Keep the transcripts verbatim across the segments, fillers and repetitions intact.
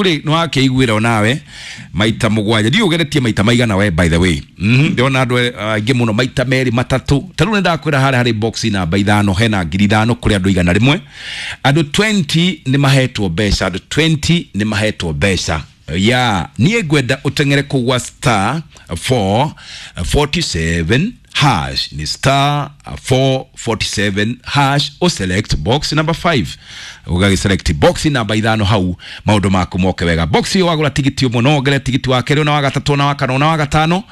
rĩ nĩ wakĩiguĩra onawe maita mũgwanja. Ndiũ ũgeretie maita maigana we, by the way. Mhm, ndĩrona andũ aingĩ mũno maita merĩ matatũ. Ta rĩu nĩ ndakwĩra harĩa harĩ box namba ithano hena ngiri ithano kũrĩ andũ igana rĩmwe. Andũ mĩrongo ĩrĩ nĩ mahetwo mbeca, andũ mĩrongo ĩrĩ nĩ mahetwo mbeca. Ya niĩ ngwenda ũteng'ere kũu gwa star four forty-seven hash, ni star four forty-seven hash, uselect box number five, ũgagĩselect box namba ithano hau, maũndũ maku moke wega. Box ĩyo wagũra tigiti ũmwe, no wongerere tigiti wa kerĩ, na wa gatatũ, na wa kana, na wa gatano.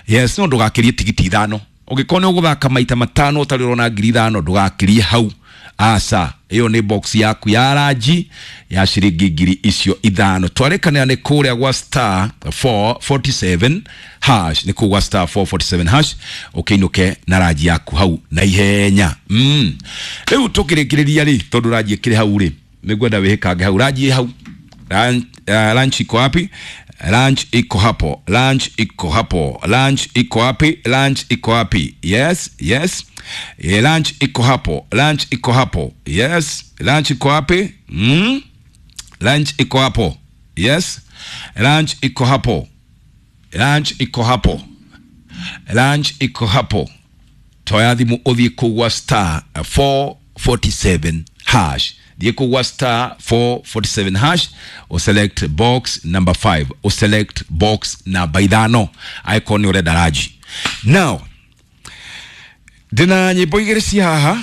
Yes, no ndũgakĩrie tigiti ithano. Ũngĩkorwo nĩ ũgũthaka maita matano ũtarĩ ũrona ngiri ithano, ndũgakĩrie hau, aca. Ĩyo nĩ box yaku ya ranji ya ciringi ngiri icio ithano. Twarĩkanĩra nĩ kũrĩa gwa star four forty-seven hash, nĩ kũu gwa star four forty-seven hash, ũkĩinũke na ranji yaku hau na ihenya. mm. Rĩu tũkĩrĩkĩrĩria rĩ, tondũ ranji ĩkĩrĩ hau rĩ, nĩngwenda wĩhĩkange hau, ranji ĩ hau. Lunch, uh, lunch iko wapi? Lunch iko hapo. Lunch iko hapo. Lunch iko wapi? Lunch iko wapi? Yes, yes. E, lunch iko hapo. Lunch iko hapo. Yes. Lunch iko wapi? Mm? Lunch iko hapo. Yes. Lunch iko hapo. Lunch iko hapo. Lunch iko hapo. Toya thimu ũthiĩ kũu gwa star four forty-seven hash, thiĩ kũu gwa star four forty-seven hash, uselect box number five, uselect box namba ithano angĩkorwo nĩ ũrenda ranji. Now ndĩna nyĩmbo igĩrĩ ci haha,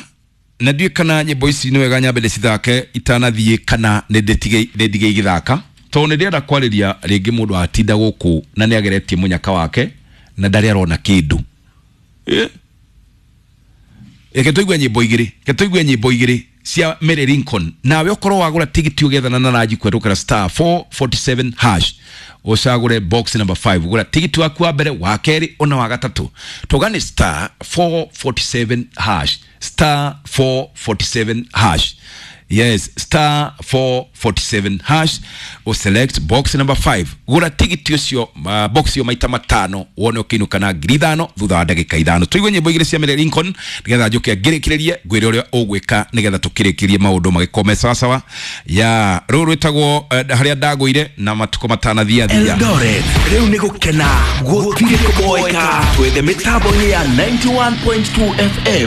na ndiũĩ kana nyĩmbo ici nĩ wega nyambe ndĩcithake itanathiĩ kana nĩ ndĩtige nĩ ndige igĩthaka, tondũ nĩ ndĩrenda kwarĩria rĩngĩ mũndũ atinda gũkũ na nĩ ageretie mũnyaka wake na ndarĩ arona kĩndũ. Eh? Reke tũigue nyĩmbo igĩrĩ, reke tũigue nyĩmbo igĩrĩ cia Mary Lincoln. Nawe ũkorwo wagũra tigiti ũgethana na ranji kwerũkĩra star four forty-seven hash, ũcagũre box number five, gũra tigiti waku wa mbere, wa kerĩ, ona wa gatatũ. Tũgane star four forty-seven hash, star four forty-seven hash. Yes, star four forty-seven hash, uselect box number five, gũra tigiti ũcio, uh, box ĩyo maita matano, wone ũkĩinũka na ngiri ithano thutha wa ndagĩka ithano. Tũigue nyĩmbo igĩrĩ cia Mary Lincoln nĩgetha njũke ngĩrĩkĩrĩrie ngwĩre ũrĩa ũgwĩka nĩgetha tũkĩrĩkĩrie maũndũ magĩkorwo me sawasawa. Ya rũrũ rwĩtagwo uh, harĩa ndagũire na matukũ matanathia thia. Eldoret rĩu nĩ gũkena, gũtirĩ kũboeka, twethe mĩtambo-inĩ ya ninety-one point two F M.